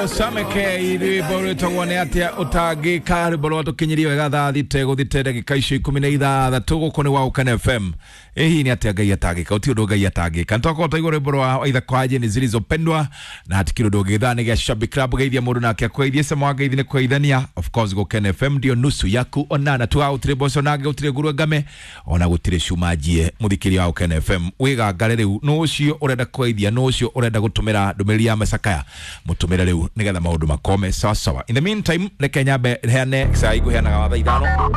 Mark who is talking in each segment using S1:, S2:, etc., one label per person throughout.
S1: Rwĩtagwo Sameke, rwĩmbo rwĩtagwo nĩ atĩa ũtangĩka, rwĩmbo rwa tũkinyirie wega thaa thita gũthite ndagĩka icio 16. Gũkũ nĩ wa Ũkene FM. Ĩ hihi nĩ atĩa Ngai atangĩka? Ũti ũndũ Ngai atangĩka. Nĩtwakorwo twaigua rwĩmbo rwa Waitha Kwaje nĩ Zilizopendwa na hatikĩrĩ ũndũ ũngĩ. Thaa nĩ gĩa Shabik Club, geithia mũndũ nake akũgeithie, cama wa ngeithi nĩ kũgeithania. Of course Gũkene FM ndio nusu yaku onana tuga gũtirĩ mboco nange, gũtirĩ nguruwe ngame, ona gũtirĩ cuma njie. Mũthikĩria wa Ũkene FM, wĩgangare rĩu, nũ ũcio ũrenda kũgeithia, nũ ũcio ũrenda gũtũmĩra ndũmĩrĩri ya macakaya, mũtũmĩre rĩu nĩgetha maũndũ makome sawa sawa. In the meantime, reke nyambe heane cai, ngũheanaga wa thaa 5.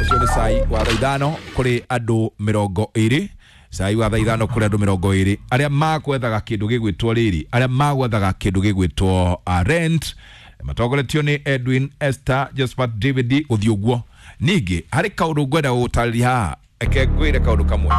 S1: Ũcio nĩ cai wa thaa 5 kũrĩ andũ 20, cai wa thaa 5 kũrĩ andũ 20 arĩa magwethaga kĩndũ gĩgwĩtwo rĩrĩ, arĩa magwethaga kĩndũ gĩgwĩtwo rent, matongoretio nĩ Edwin, Esther, Josephat, David, gũthiĩ ũguo. Ningĩ harĩ kaũndũ ngwenda gũgũtarĩria haha, eke ngwĩre kaũndũ kamwe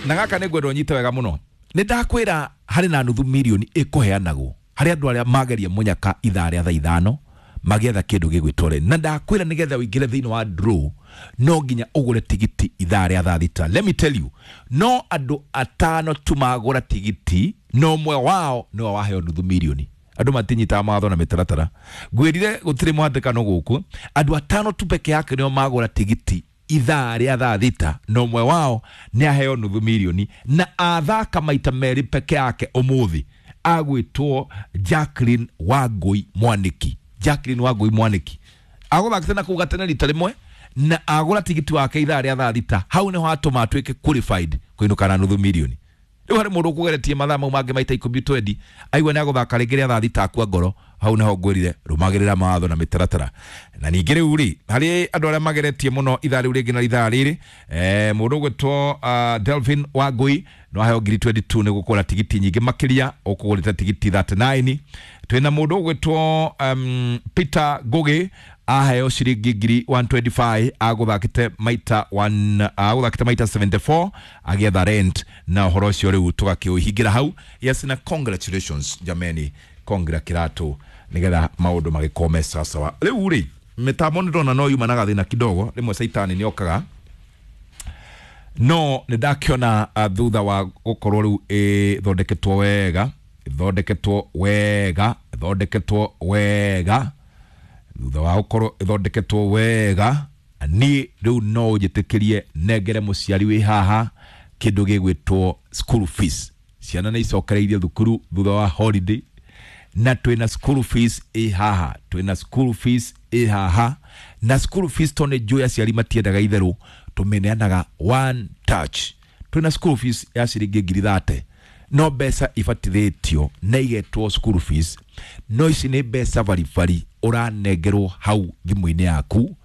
S1: na gaka nĩ ngwenda ũnyite wega mũno. Nĩ ndakwĩra harĩ na nuthu mirioni ĩkũheanagwo harĩ andũ arĩa mageria mũnyaka ithaa rĩa thaa 5 magĩetha kĩndũ gĩgwĩtwo rent. Na ndakwĩra nĩgetha ũingĩre thĩinĩ wa draw no nginya ũgũre tigiti ithaa rĩa thaa 6. Let me tell you, no andũ 5 tu magũra tigiti na ũmwe wao nĩwe waheo nuthu mirioni. Andũ matinyitaga mawatho na mĩtaratara. Ngwĩrire gũtirĩ mũhatĩkano gũkũ. Andũ 5 tu peke yake nĩo magũra tigiti ithaa rĩa thaa 6 na ũmwe wao nĩ aheo nuthu mirioni, na athaka maita merĩ peke yake ũmũthĩ, agwĩtwo Jacqueline Wangui Mwaniki. Jacqueline Wangui Mwaniki agũthakĩte na kũu gatene rita rĩmwe na agũra tigiti wake ithaa rĩa thaa 6, hau nĩho atũma atuĩke qualified kũinũka na nuthu mirioni. Rĩu harĩ mũndũ ũkũgeretie mathaa mau mangĩ maita 10 twendi, aigua nĩ agũthaka rĩngĩ rĩa thaa 6 akua ngoro. Hau nĩho ngwĩrire rũmagĩrĩra mawatho na mĩtaratara. Na ningĩ rĩu rĩ, harĩ andũ arĩa mageretie mũno ithaa rĩu rĩngĩ na ithaa rĩrĩ, mũndũ ũgwĩtwo Delvin Wangui no aheo ngiri 22 nĩ gũkũra tigiti nyingĩ makĩria, ũkũgũrĩte tigiti 39. Twĩna mũndũ ũgwĩtwo Peter Ngugi, aheo ciringi ngiri 125, agũthakĩte maita one, agũthakĩte maita 74 agĩetha rent, na ũhoro ũcio rĩu tũgakĩũhingĩra hau. Yes, na congratulations jameni, kongira kĩratũ nĩgetha maũndũ magĩkorwo me sawa sawa. Rĩu rĩ, mĩtambo nĩ ndona no yuma na gathĩna kidogo, rĩmwe caitani nĩ okaga, no nĩ ndakĩona thutha wa gũkorwo rĩu ĩthondeketwo wega, ĩthondeketwo wega, ĩthondeketwo wega, thutha wa gũkorwo ĩthondeketwo wega, niĩ rĩu no ũnjĩtĩkĩrie nengere mũciari wĩ haha kĩndũ gĩgwĩtwo school fees. Ciana nĩ icokereirie thukuru thutha wa holiday, na twĩna school fees ĩ haha, twĩna school fees ĩ haha, na school fees to nĩ njũĩ aciari matiendaga itherũ, tũmĩneanaga one touch. Twĩna school fees ya ciringi ngiri 30, no mbeca ibatithĩtio na igetwo school fees, no ici nĩ mbeca baribari ũranengerwo hau thimũ-inĩ yaku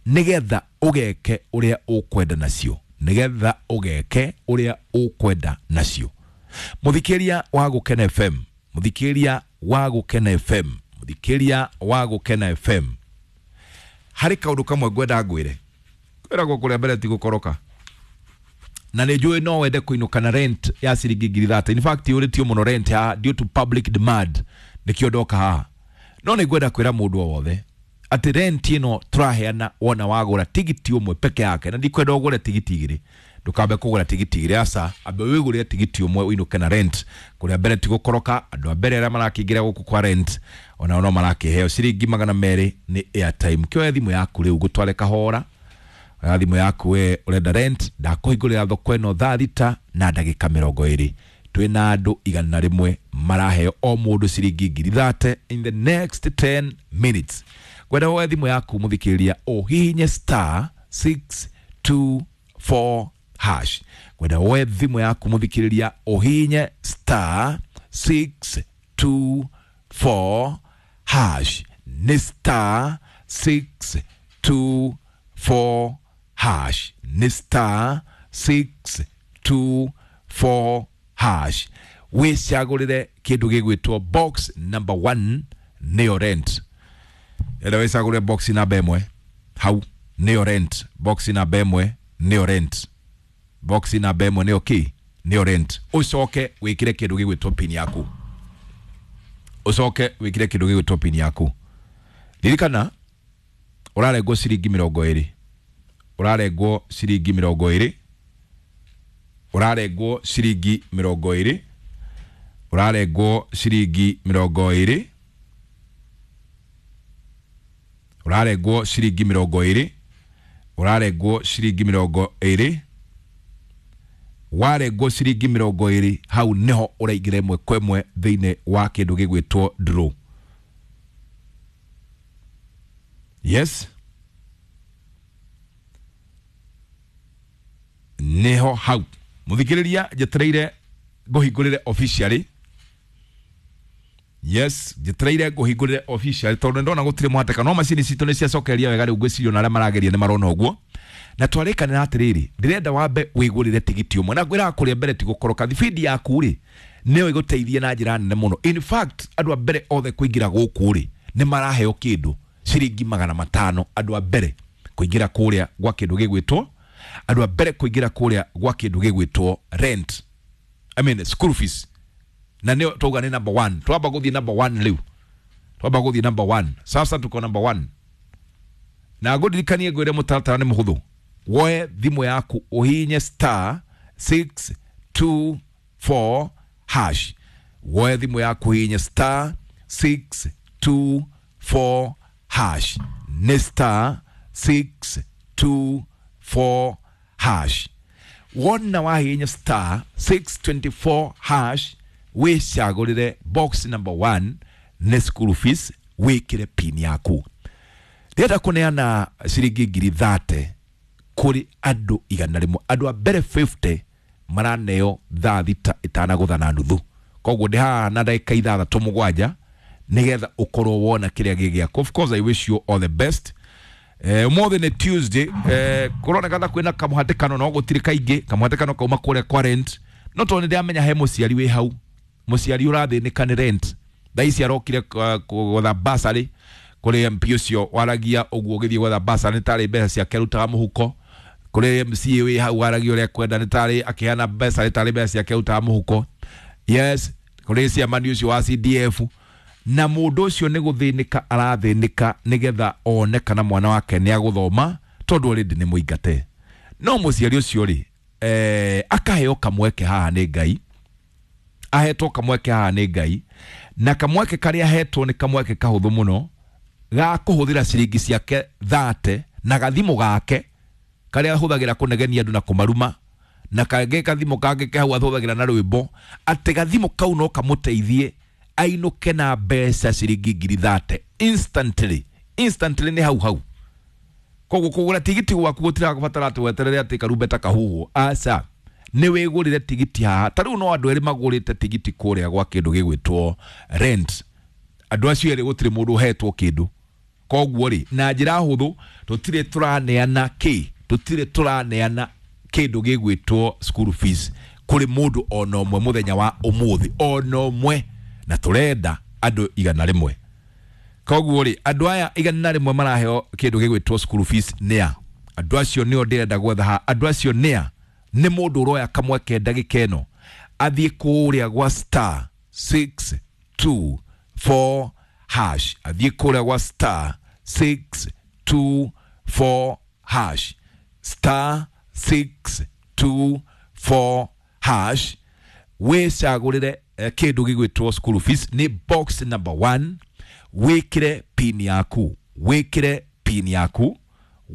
S1: nĩgetha ũgeke ũrĩa ũkwenda nacio, nĩgetha ũgeke ũrĩa ũkwenda nacio. Mũthikĩria wa Gũkena FM, mũthikĩria wa Gũkena FM, mũthikĩria wa Gũkena FM, harĩ kaũndũ kamwe ngwenda ngwĩre. Kwĩragwo kũrĩa mbere ti gũkoroka, na nĩ njũĩ no wende kũinũka na rent ya ciringi ngiri 30. In fact yũrĩtio mũno rent haha due to public demand, nĩkĩo ndoka haha. No nĩ ngwenda kwĩra mũndũ o wothe atĩ rent ĩno tũraheana wona wagũra tigiti ũmwe peke yake, na ndikwenda ũgũre tigiti igĩrĩ, ndũkambe kũgũra tigiti igĩrĩ, aca, ambe wĩgũrĩre tigiti ũmwe ũinũke na rent. Kũrĩa mbere ti gũkoroka, andũ a mbere arĩa marakĩingĩra gũkũ kwa rent onao no marakĩheo ciringi 200 nĩ airtime. Kĩoya thimũ yaku rĩu ngũtware kahora, oya thimũ yaku we ũrenda rent, ndakũhingũrĩra thoko ĩno thaa 6 na ndagĩka 20. Twĩna andũ 100 maraheo o mũndũ ciringi ngiri 30 in the next 10 minutes. Ngwenda woe thimũ yaku mũthikĩrĩria, ũhihinye star 624 hash. Ngwenda woe thimũ yaku mũthikĩrĩria, ũhihinye star 624 hash. Nĩ star 624 hash. Nĩ star 624 hash. Wĩcagũrĩre kĩndũ gĩgwĩtwo box number 1 nĩyo rent. Enda wĩcagũrĩre box namba 1 hau nĩyo rent. Box namba 1 nĩyo rent. Box namba 1 nĩyo kĩ? Nĩyo rent. Ũcoke wĩkĩre kĩndũ gĩgwĩtwo pin yaku. Ũcoke wĩkĩre kĩndũ gĩgwĩtwo pin yaku. Ririkana ũrarengwo ciringi 20, ũrarengwo ciringi 20, ũrarengwo ciringi 20. Ũrarengwo ciringi 20, ũrarengwo ciringi 20, ũrarengwo ciringi 20. Warengwo ciringi 20 hau niho ũraingĩra ĩmwe kwa ĩmwe thĩinĩ wa kĩndũ gĩgwĩtwo draw. Yes, niho hau muthikĩrĩria njetereire ngũhingũrĩre officially. Yes, njetereire ngũhingũrĩre officially tondũ nĩndona gũtirĩ mũhatĩkano, no macini citũ nĩ ciacokeria wega rĩu ngwĩciria ona arĩa marageria nĩ marona ũguo. Na twarĩkanĩra atĩrĩrĩ, ndĩrenda wambe wĩgũrĩre tigiti ũmwe, na ngwĩraga kũrĩa mbere ti gũkoroka. Thibindi yaku rĩ nĩyo ĩgũteithie na njĩra nene mũno. In fact, andũ a mbere othe kũingĩra gũkũ rĩ nĩ maraheo kĩndũ ciringi 500. Andũ a mbere kũingĩra kũrĩa gwa kĩndũ gĩgwĩtwo, andũ a mbere kũingĩra kũrĩa gwa kĩndũ gĩgwĩtwo rent, I mean school fees, na nĩyo twauga nĩ number 1. Twamba gũthiĩ number 1 rĩu, twamba gũthiĩ number 1 sasa, tuko number 1. Na ngũririkanie ngwĩre mũtaratara nĩ mũhũthũ. Woe thimũ yaku ũhihinye star 624 hash. Woe thimũ yaku ũhihinye star 624 hash, nĩ star 624 hash. Wona wahihinya star 624 hash, wĩcagũrĩre box number 1 nĩ school fees, wĩkĩre pin yaku. Ndĩrenda kũneana ciringi 30,000 kũrĩ andũ 100. Andũ a mbere 50 maraneo thaa 6 itanagũtha na nuthu. Koguo ndĩ haha na ndagĩka 6 7 nĩgetha ũkorwo wona kĩrĩa gĩ gĩaku. Of course I wish you all the best. Ũmũthĩ nĩ Tuesday, kũroneka ta kwĩna kamũhatĩkano, no gũtirĩ kaingĩ. Kamũhatĩkano kauma kũrĩa kwa rent, no tondũ nĩndĩramenya he mũciari wĩ hau, mũciari ũrathĩnĩka nĩ rent. Thaa ici arokire gwetha bursary kũrĩ MP ũcio waragia ũguo ũgĩthiĩ gwetha bursary nĩ tarĩ mbeca ciake arutaga mũhuko. Kũrĩ MCA wĩ hau waragia ũrĩa kwenda nĩ tarĩ akĩheana mbeca nĩ tarĩ mbeca ciake arutaga mũhuko. Yes, kũrĩ ciamani ũcio wa CDF, na mũndũ ũcio nĩ gũthĩnĩka arathĩnĩka nĩgetha one kana mwana wake nĩ agũthoma tondũ already nĩ mũingate. No mũciari ũcio rĩ, akaheo kamweke haha nĩ Ngai, ahetwo kamweke haha nĩ Ngai, na kamweke karĩa ahetwo nĩ kamweke kahũthũ mũno ga kũhũthĩra ciringi ciake 30 na gathimũ gake karĩa ahũthagĩra kũnegenia andũ na kũmaruma, na kangĩ gathimũ kangĩ ke hau ahũthagĩra na rwĩmbo, atĩ gathimũ kau no kamũteithie ainũke na mbeca ciringi 30,000 instantly. Instantly nĩ hau hau. Koguo kũgũra tigiti gwaku gũtirabatara atĩ weterere atĩ karumbeta kahuhwo, aca, nĩ wĩgũrĩre tigiti haha. Ta rĩu no andũ erĩ magũrĩte tigiti kũrĩa gwa kĩndũ gĩgwĩtwo rent. Andũ acio erĩ gũtirĩ mũndũ ũhetwo kĩndũ. Koguo rĩ, na njĩra hũthũ tũtirĩ tũraneana kĩ, tũtirĩ tũraneana kĩndũ gĩgwĩtwo school fees kũrĩ mũndũ ona ũmwe mũthenya wa ũmũthĩ, ona ũmwe, na tũrenda andũ 100. Koguo rĩ, andũ aya 100 maraheo kĩndũ gĩgwĩtwo school fees nĩa? Andũ acio nĩo ndĩrenda gwetha haha. Andũ acio nĩa? Nĩ mũndũ ũroya kamweke ndagĩka ĩno athiĩ kũrĩa gwa star 624 hash, athiĩ kũrĩa gwa star 624 hash, star 624 hash, wĩcagũrĩre kĩndũ gĩgwĩtwo school fees nĩ box number 1. Wĩkĩre pin yaku, wĩkĩre pin yaku,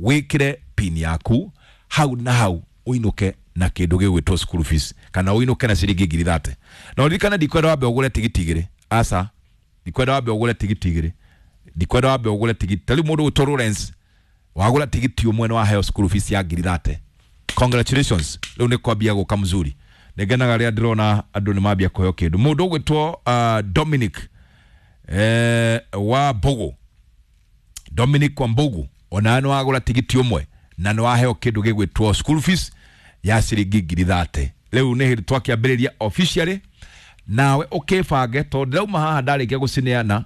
S1: wĩkĩre pin yaku hau na hau ũinũke na kĩndũ gĩgwĩtwo school fees, kana ũinũke na ciringi 30,000. Na ũririkane ndikwenda wambe ũgũre tigiti igĩrĩ, aca, ndikwenda wambe ũgũre tigiti igĩrĩ, ndikwenda wambe ũgũre tigiti. Ta rĩu mũndũ ũgwĩtwo Lawrence wagũra tigiti ũmwe nĩ waheo school fees ya 30,000. Congratulations, rĩu nĩ kwambia gũka mzuri. Nĩngenaga rĩrĩa ndĩrona andũ nĩ mambia kũheo kĩndũ. Mũndũ ũgwĩtwo Dominic wa Mbogo, Dominic wa Mbogo, ona nĩ wagũra tigiti ũmwe na nĩ waheo kĩndũ gĩgwĩtwo school fees ya ciringi 30,000. Rĩu nĩ hĩndĩ twakĩambĩrĩria officially, nawe ũkĩbange tondũ ndĩrauma haha ndarĩkia gũcineana,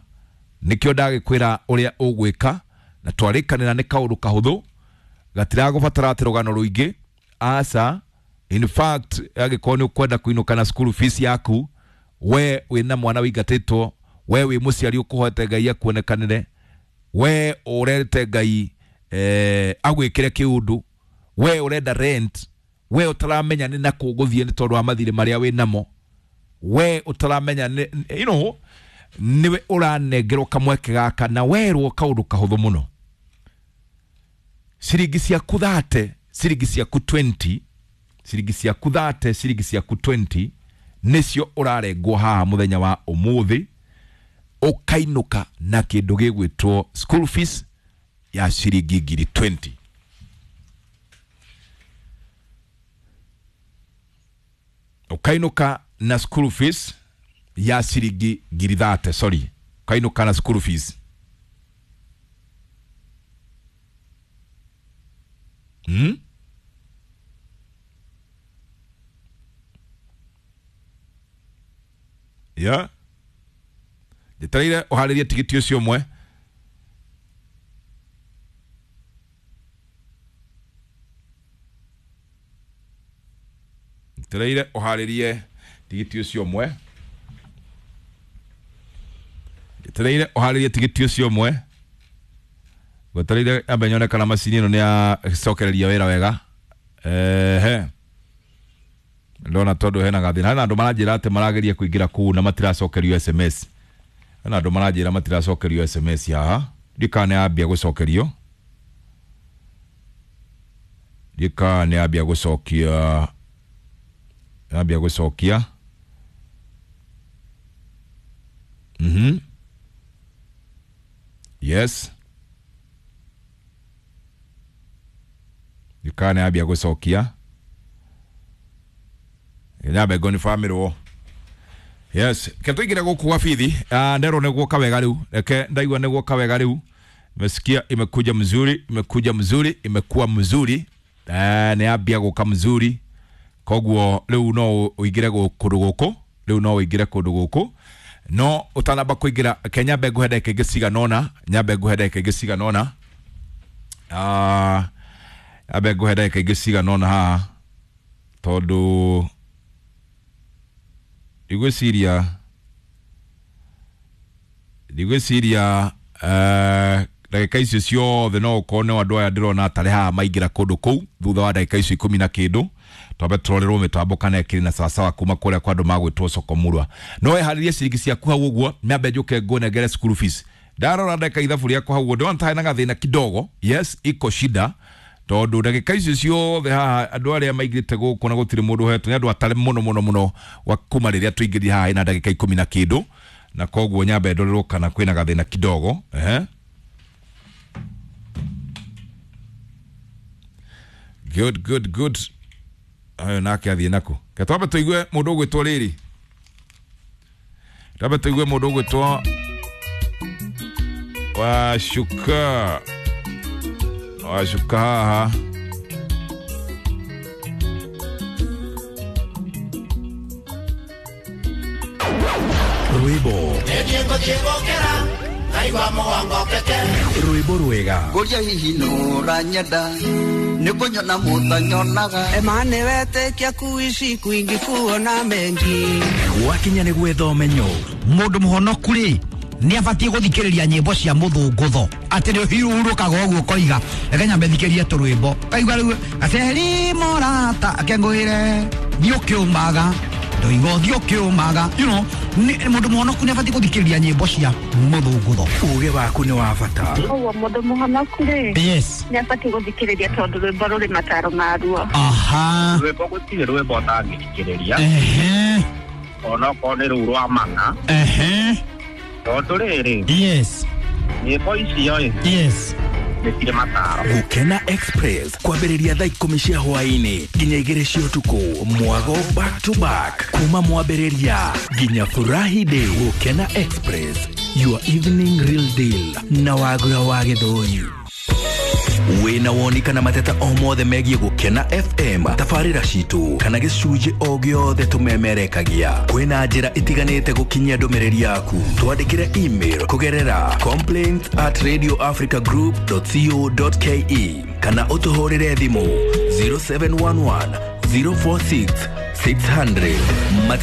S1: nĩkĩo ndagĩkwĩra ũrĩa ũgwĩka, na twarĩkanĩra nĩ kaũndũ kahũthũ gatiragũbatara atĩ rũgano rũingĩ, aca. In fact, angĩkorwo nĩ ũkwenda kũinũka na school fees yaku, we wĩna mwana wĩingatĩtwo, we wĩ mũciari ũkũhoete Ngai akuonekanĩre, we ũrete Ngai agwĩkĩre kĩũndũ, we ũrenda rent, we ũtaramenya nĩ nakũ ũgũthiĩ nĩ tondũ wa mathirĩ marĩa wĩ namo, We ũtaramenya you know, nĩwe ũranengerwo kamweke gaka na werwo kaũndũ kahũthũ mũno. Ciringi ciaku 30, ciringi ciaku 20, ciringi ciaku 30, ciringi ciaku 20 nĩcio ũrarengwo haha mũthenya wa ũmũthĩ, ũkainũka na kĩndũ gĩgwĩtwo school fees ya ciringi ngiri 20. Ũkainũka na school fees ya ciringi ngiri 30, sorry, ũkainũka na school fees. Yeah. Njetereire ũharĩrie tigiti ũcio ũmwe. Njetereire ũharĩrie tigiti ũcio ũmwe. Njetereire ũharĩrie tigiti ũcio ũmwe. Gwetereire ambe nyone kana macini ĩno nĩ yacokereria wĩra wega. Ehe. Ndona tondũ hena gathĩna. Hena andũ maranjĩra atĩ marageria kũingĩra kũu na matiracokerio SMS. Hena andũ maranjĩra matiracokerio SMS haha. Ndikana nĩ yambia gũcokerio. Ndikana nĩ yambia gũcokia. Yambia gũcokia. Yes. Ndikana nĩ yambia gũcokia. Nyambe ngoni family. Yes, ke tuingire guku gwa bithi. Nderwo nĩ guoka wega rĩu. Reke ndaigua nĩ guoka wega rĩu. Nimesikia imekuja mzuri, imekuja mzuri, imekuwa mzuri. Nĩ yambia guka mzuri. Koguo rĩu no ũingire kũndũ gũkũ, rĩu no ũingire kũndũ gũkũ. No ũtanamba kũingĩra, ke nyambe ngũhe ndagĩka ingĩ cigana ũna, nyambe ngũhe ndagĩka ingĩ cigana ũna. Nyambe ngũhe ndagĩka ingĩ cigana ũna haha tondũ ndigwĩciria ndagĩka icio ciothe no ũkorwo nĩ andũ aya ndĩrona atarĩ haha maingĩra kũndũ kũu thutha wa ndagĩka icio 10 na kĩndũ. Twambe tũrorerwo mĩtambo kana ĩkĩrĩ na sawasawa kuma kũrĩa kwa andũ magwĩtwo Sokomurwa. No weharĩrie ciringi ciaku hau ũguo, nyambe njũke ngũnengere school fees. Ndarora ndagĩka ithabu rĩakwa hau ũguo ndĩrona ta hena gathĩna kidogo. Yes, iko shida tondũ ndagĩka icio ciothe haha andũ arĩa maingĩrĩte gũkũ na gũtirĩ mũndũ ũhetwo nĩ andũ atarĩ mũno mũno mũno wa kuma rĩrĩa tũingĩrire haha ĩna ndagĩka 10 na kĩndũ, na koguo nyambe ndorerwo kana kwĩna gathĩna kidogo. Good, good, good. Ayo nake athiĩ naku. Ke twambe tũigue mũndũ ũgwĩtwo rĩrĩ. Twambe tũigue mũndũ ũgwĩtwo Washuka. Washuka haha.
S2: Rwĩmbo. Rwĩmbo rwega.
S3: Ngũria hihi nũranyenda nĩkũnyona mũtanyonaga.
S4: Emane wetĩkia kuishi kwingi kuona mengi.
S2: Gwakinya nĩ gwetha ũmenyo.
S5: Mũndũ mũhonoku rĩ nĩ abatiĩ gũthikĩrĩria nyĩmbo cia mũthũngũtho atĩ nĩ ũhurũkaga ũguo ũkoiga reke nyambe thikĩrie tũrwĩmbo kaigua rĩu aceri morata akengũĩre thiĩ ũkĩũmaga ndoiga ũthiĩ ũkĩũmaga, you know, mũndũ mũhonoku nĩ abatiĩ gũthikĩrĩria nyĩmbo cia mũthũngũtho.
S2: Ũgĩ waku nĩ wa bata.
S6: Ũguo mũndũ mũhonoku rĩ,
S5: yes,
S6: nĩ abatiĩ gũthikĩrĩria tondũ rwĩmbo rũrĩ mataro maruo.
S5: Aha.
S7: Rwĩmbo gũtirĩ rwĩmbo ũtangĩthikĩrĩria.
S5: Ehe.
S7: Onokorwo nĩ rũu rwa mana.
S5: Ehe.
S7: Tondũ rĩrĩ,
S5: yes,
S7: nyĩmbo icio ĩ,
S5: yes,
S7: nĩ cirĩ mataro.
S2: Gũkena Express kwambĩrĩria thaa 10 cia hwaĩ-inĩ nginya 2 cia ũtukũ, mwago back to back kuma mwambĩrĩria nginya Furahi Day. Gũkena Express, your evening real deal na Wagura wa Gĩthũri. Wĩna woni kana mateta o mothe megiĩ Gũkena FM, tabarĩra citũ kana gĩcunjĩ o gĩothe tũmemerekagia, kwĩna njĩra itiganĩte gũkinyia ndũmĩrĩri yaku. Twandĩkĩre email kũgerera complaints@radioafricagroup.co.ke kana ũtũhũrĩre thimũ 0711 046 600. Mateta